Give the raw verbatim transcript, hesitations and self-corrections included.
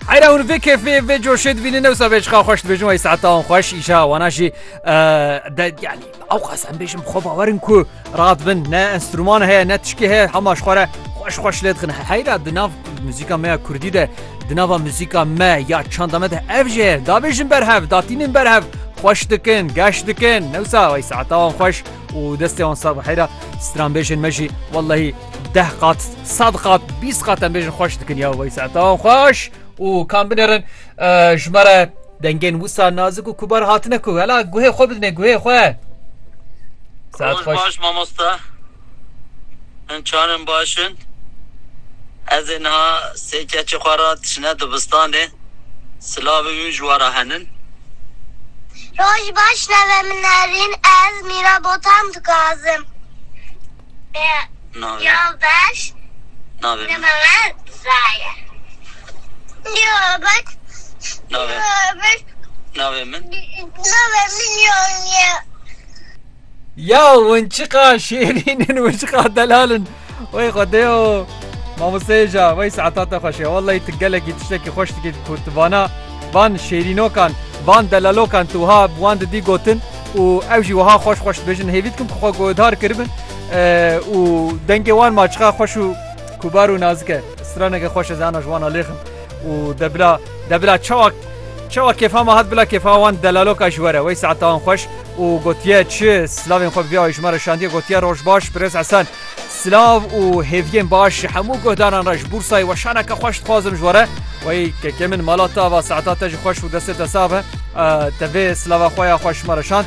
Heyra hûn vê kêfê, vê coşê dibînin, newsa vê çiqa xweş dibêjin, wey saeta wan xweş, îşa wana jî, e, de, yanî, ewqas em bêjin, bi xwe bawer in ku radibin, ne enstrûman heye, ne tişkê heye, hema ji xwe re xweş xweş lê dixin. Heyra di nav muzîka me ya kurdî de, di nava muzîka me ya çanda me de ev jî heye. Dabêjin berhev, datînin berhev, xweş dikin, geş dikin. Newsa wey saeta wan xweş û destê wan sax be. Heyra stranbêjên me jî, wellehî, deh qat, sed qat, bîst qat em bêjin xweş dikin ya, wey saeta wan xweş. Û kan binêrin, e, ji me re dengên wisa nazik û kubar hatine ku. Hela guhê xwe bidinê, guhê xwe. Saet Roj xweş. Baş, mamosta. Hûn çanin baş in? Ez ê niha sê keçê xwe re dişine dibistanê. Silavê wî ji we re henin. Roj baş, navê min Nerîn, ez Mîra Botan dixwazim. Navê min? Yoldaş. Navê min? Navê min Zaya. Yoldaş. Navê? Yoldaş. Navê min? Navê min Yoldaş. Ya, hûn çiqa şêrîn in, hûn çiqa delal in. Wey Xwedê o, mamoste Êja, wey saeta te xweş e. Wellahî tu gelekî tiştekî xweş dikî ku tu vana, van şêrînokan, van delalokan tu wiha bi wan didî gotin û ew jî wiha xweş xweş dibêjin. Hêvî dikim ku xwe guhdar kiribin, e, û dengê wan ma çiqa xweş û kubar û nazik e. Straneke xweş ez ana ji wan alêxim. Û de bila, de bila çawa, çawa kêfa me hat, bila kêfa wan delaloka ji we re. Wey saeta wan xweş û gotiye çi, silavên xwe bi vî awayî ji me re şandiye, gotiye, "Roj baş, Birêz Hesen." Silav û hêviyên baş ji hemû guhdaran re, ji Bursayê weşaneke xweş dixwazim ji we re. Wey kekê min, mala te ava, saeta te jî xweş û destê te sax be. E, te vê silava xwe ya xweş ji me re şand.